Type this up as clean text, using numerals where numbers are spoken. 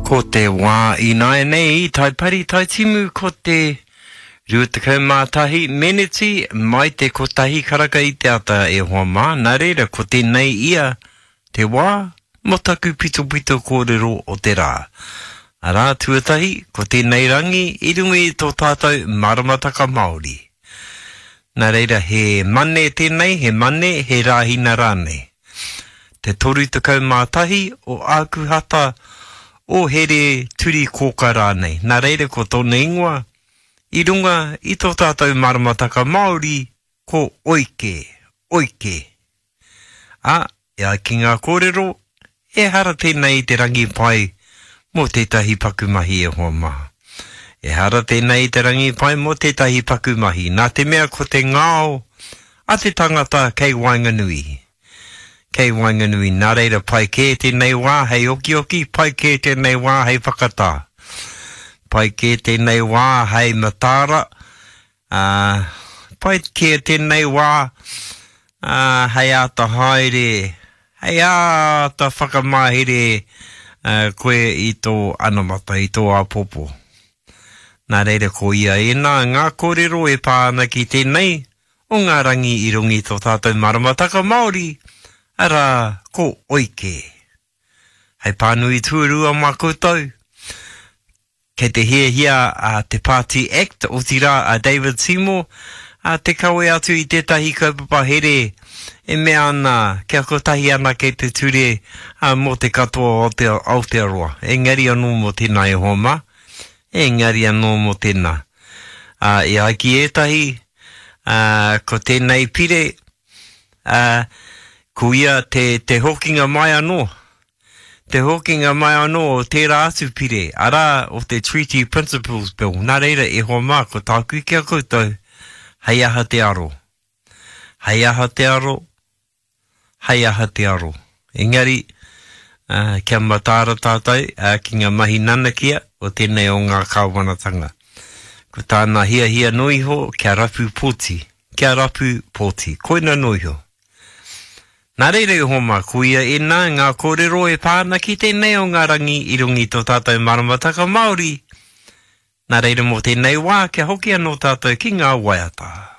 Ko te wā ināianei, tai pari, tai timu, ko te 21 meneti mai te kotahi karaka i te ata e hoa mā, nā reira ko tēnei ia te wā mō taku pitopito kōrero o te rā. Arā, tuatahi, ko tēnei rangi i runga i tō tātou maramataka Māori. Nā reira, he Mane tēnei, he Mane, he Rāhina rānei. Te 31 o Ākuhata, o Here Turi Kōka rānei. Nā reira, ko tōna ingoa, i runga i tō tātou maramataka Māori, ko Oike, Oike. Ā, e ai ki ngā kōrero, ehara tēnei i te rangi pai mō tētahi paku mahi e hoa mā. Ehara tēnei i te rangi pai mō tētahi paku mahi, nā te mea ko te ngao a te tangata kei waenganui. Kei waenganui, nā reira pai kē tēnei wā hei okioki, pai kē tēnei wā hei whakatā. Pai kē tēnei wā hei mataara, Ā, pai kē tēnei wā, ā, hei āta haere, hei āta whakamahere koe i tō anamata, i tō āpōpō. Nā reira ko ia ēnā ngā kōrero e pā ana ki tēnei o ngā rangi i runga i tō tātou maramataka Māori, arā, ko Oike. Hei pānui tuarua mā koutou, Kei te hiahia a Te Pāti Act, otirā a David Seymour, te kawe atu i tētahi kaupapa here e mea ana kia kotahi anake te ture mō te katoa o Aotearoa. Engari anō mō tēnā e hoa mā, engari anō mō tēnā. E ai ki ētahi, ko tēnei pire, ko ia te hokinga mai anō Te hokinga mai anō o tērā atu pire, arā, o te Treaty Principles Bill. Nā reira, e hoa mā, ko tāku ki a koutou, hei aha te aro? Hei aha te aro? Hei aha te aro? Engari, kia mataara tātou ki ngā mahi nanakia o tēnei o ngā kāwanatanga. Ko tāna hiahia noa iho, kia rapu pōti. Kia rapu pōti. Koina noa iho. Nā reira e hoa mā, koia ēnā ngā kōrero e pā ana ki tēnei o ngā rangi i runga i tō tātou maramataka Māori. Nā reira mō tēnei wā kia hoki anō tātou ki ngā waiata.